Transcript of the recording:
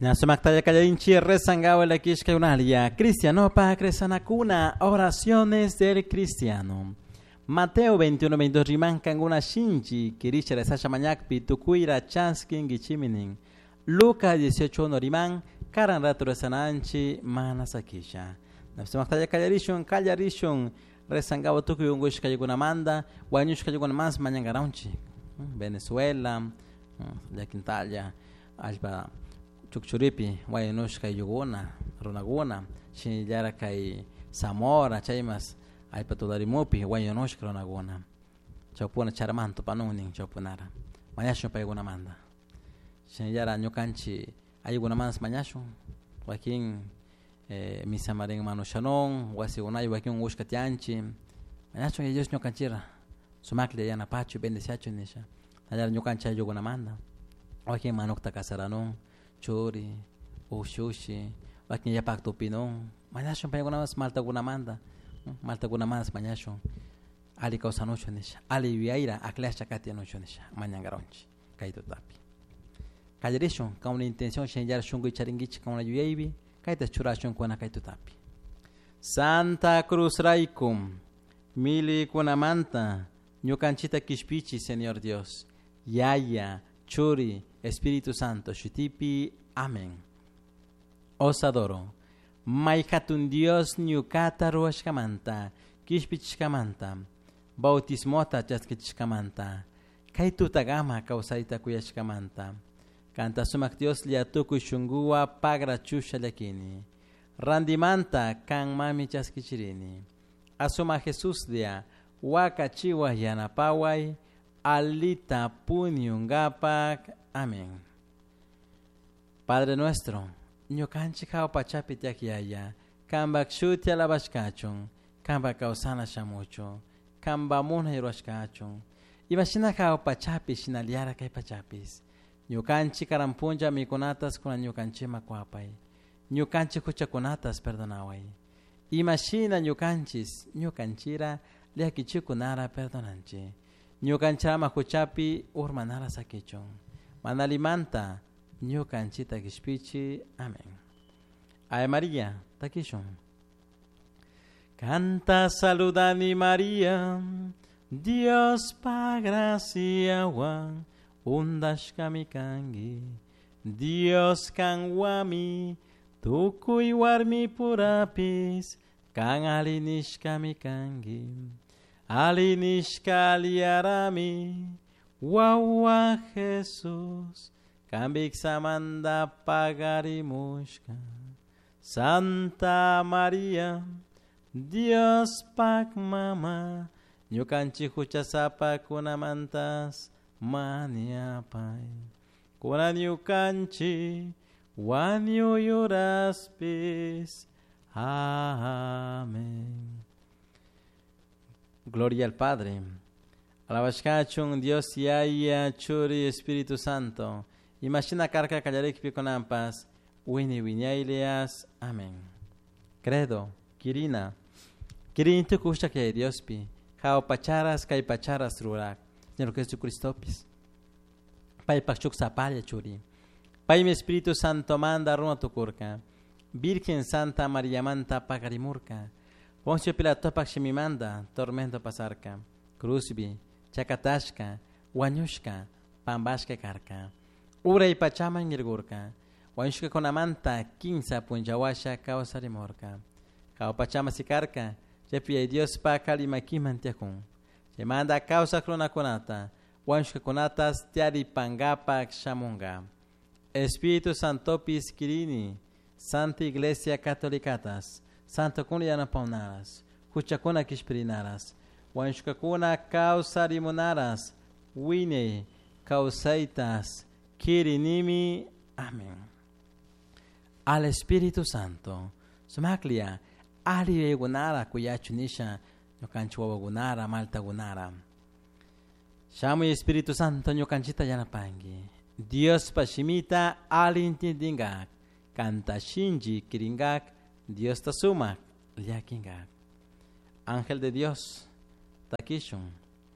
Nasumaktaya kallarinchi rezangawa lakishkayunalia cristianopak rezanakuna oraciones del cristiano. Mateo 21, 22 riman kanguna shinchi kirisha rezasha mañakpi tukuira chaskin gichiminin. Lucas 18, 1 riman karan rato rezananchi mana sakisha. Nasumaktaya kallarishun kallarishun rezangawa tukuy ungushkaykunamanta wañushkaykunamas mañankaranchik. Venezuela, llakintalla, allpa chukchuripi wañushka yuguna runakuna shinallara kay Zamora chaymas allpa tularimupi wañushka runakuna chawpuna charamanta tupanunin chawpunara mañashun paykunamanta shinallara ñukanchik ayllunamanta mañashun wakin misamarin manushanun wasikunay wakin unkushka tiyanchik mañashun Yaya Dios ñukanchikra sumaklla yanapachu bendeciachun nisha shinallara ñukanchik ayllukunamanta wakin manukta kasaranun churi ushushi wakin yapak tupinun mañashun paykunamas maltakunamanta maltakunamanta mañashun alli kawsanuchun nisha alli yuyayra akllashka katinuchun nisha mañankaranchik kay tutapi kallarishun kawana intención shinallara shunku charinkichik kawana yuyaypi kayta churashun kuna kay tutapi. Santa Cruz rayku milikunamanta ñukanchikta kishpichi Señor Dios Yaya Churi Espíritu Santo shutipi amén. Os adoro may hatun Dios ñukata ruwashkamanta kishpichishkamanta bautismota chaskichishkamanta kay tutakama kawsayta kuyashkamanta kanta sumak Dioslla tukuy shunkuwan pagrachusha llakini rantimanta kanmami chaskichirini asumak Jesuslla wakachiway yanapaway alita puñunkapak amén. Padre nuestro ñukanchik hawa pachapi tiyak Yaya kanpak shuti alabashkachun kanpak kawsana shamuchun kanpak munay rurashkachun imashina hawa pachapi shinallara kay pachapis ñukanchik karan punlla mikunatas kunan ñukanchikman kuwapay ñukanchik huchakunatas perdonaway imashina ñukanchis ñukanchira llakichikunara perdonanchik ñukanchik ama huchapi urmanara sakichun mana allimanta ñukanchikta kishpichi amén. Ave María takishun. Kanta saludani María Diospak graciawan undashkami kanki Dios kanwami tukuy warmipurapis kan alli nishkami kanki alli nishka alliarami wawa Jesús kanpik samanta pagarimushka Santa María Diospak mama ñukanchik huchasapakunamantas mañapay kunan ñukanchik wañuy horaspis. Amén. Gloria al Padre. Alabashkachun Dios Yaya Churi Espíritu Santo. Imashina karka kallarikpi kunanpas wini wiñaylias. Amén. Credo, Kirina. Kirini tukushak Yaya Diospi. Hawa pacharas kay pacharas rurak. Señor Jesucristopis. Paypak shuk sapalla churi. Paymi Espíritu Santo manda runa tukurka. Virgen Santa Mariamanta pakarimurka. Poncio Pilatopak shimimanta tormento pasarka. Cruzbi, chakatashka, wañushka, pampashka karka. Uray pachaman yaykurka. Wañushkakunamanta kinsa punllawasha kawsarimurka. Hawa pachaman sikarka, chaypi Yaya Diospak alli makiman tiyakun. Chaymanta kawsak runakunata, wañushkakunatas tiyaripankapak shamunka. Espíritu Santopis kirini, Santa Iglesia Catolicatas, Santokuna yanapawnaras, huchakuna kishpirinaras, wañushkakuna kawsarimunaras, wiñay kawsaytas kirinimi. Amén. Al Espíritu Santo, sumaklia, alli yuyaykunara kuyachu nisha ñukanchik wawakunara maltakunara. Shamuy Espíritu Santo ñukanchikta yanapanki. Diospa shimita alli intindinkak, kanta shinchi kirinkak, Diosta sumak llakinkak. Ángel de Dios, takishun.